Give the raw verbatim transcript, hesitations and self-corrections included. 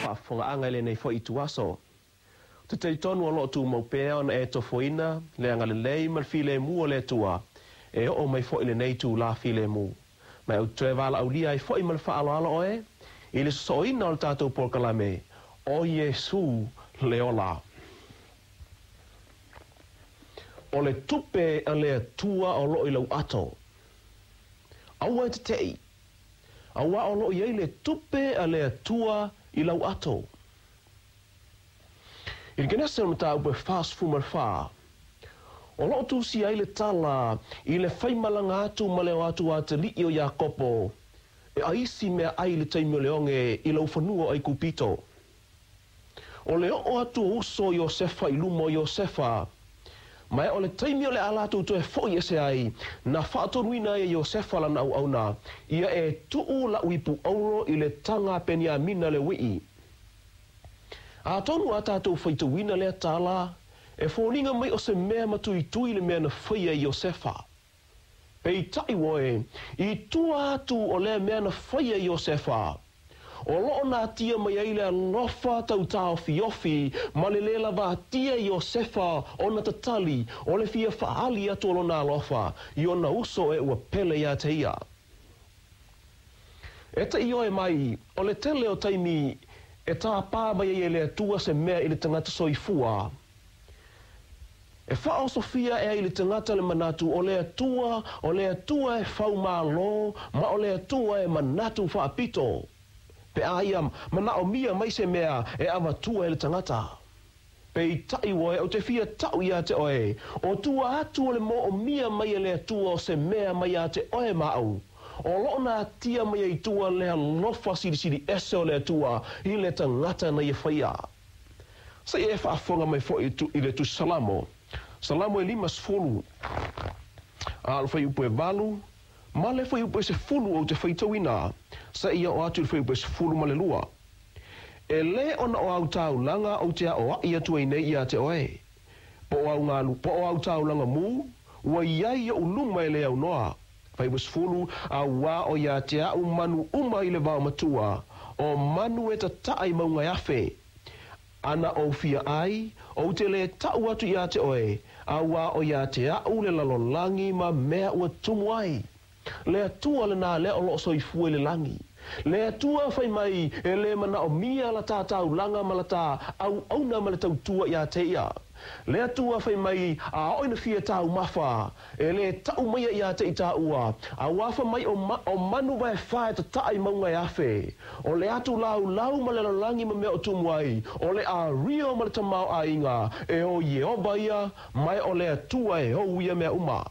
faafofogaaga i lenei foi ituaso. Ou te talitonu o lo o tumau pea ona e tofoina le agalelei ma le filemu o le Atua e oo mai foi i lenei itulā filemu. Ma ou te toe valaaulia ai foi ma le faaaloalo oe i le sosooina o le tatou polokalame o Iesū le Ola. O le tupe a le Atua o lo o i lau ato. Aua e tete'i, auā o lo o i ai le tupe a le Atua i lau ato. I le Kenese o le mataupu e fasefulu ma le fa, o lo o tusia ai le tala i le faimalaga atu ma le o atu a atalii o Iakopo e aisi meaai i le taimi o le oge i laufanua o Aikupito. O le oo atu o uso o Iosefa i luma o Iosefa, ma o le taimi o le a latou toe fo'i ese ai, na faatonuina ai e Iosefa lana auauna, ia e tuu la'u ipu auro i le taga a Peniamina le ui'i. Atonu a tatou faitauina lea tala, e foliga mai o se mea matuitui le mea na faia e Iosefa. Peitai oe, i tua atu o lea mea na faia e Iosefa, o lo o natia mai ai le alofa tautaofiofi ma le lē lavatia e Iosefa ona tatali o le fia faaali atu o lona alofa i ona uso e ua pele iā te ia. E te ioe mai, o le tele o taimi e tāpā mai ai e le Atua se mea i le tagata soifua, e faaosofia ae ai i le tagata le manatu o le Atua, o le Atua e faumālō ma o le Atua e manatu faapito, pe a ia manaomia mai se mea e avatua e le tagata. Peitai oe, ou te fia tau iā te oe, o tua atu o le moomia mai e le Atua o se mea mai iā te oe ma au, o lo o natia mai ai i tua le alofa silisili ese o le Atua i le tagata na ia faia. Se i e faafofoga mai foi i le Tusi Salamo, Salamo e limasefulu, a o le fuaiupu e valu, ma le fuaiupu e sefulu ou te faitauina, seia oo atu i le fuaiupu e sefulu ma le lua. E lē ona o au taulaga ou te aoaʻi atu ai nei iā te oe, po o au galu, po o au taulaga mū, ua i ai i oʻu luma e le aunoa. Fuaiupu e sefulu, auā o iā te aʻu manu uma i le vaomatua, o manu e tataʻa i mauga e afe. Ana ou fia ai, ou te lē taʻu atu iā te oe, auā o iā te aʻu le lalolagi ma mea ua tumu ai. Le Atua lenā lea o lo o soifua i le lagi. Le Atua fai mai e lē manaomia la tā taulaga ma la tā auauna ma le tautua iā te ia. Le Atua fai mai a oo ina fia taumafa, e lē taʻu maia iā te i tāua, auā fai mai o, ma, o manu vaefā e tataʻa i mauga e afe. O le atu laulau ma le lalolagi ma mea o tumu ai, o le ario ma le tamaoaiga, e o Ieova ia, ma e o le Atua e ou ia mea uma.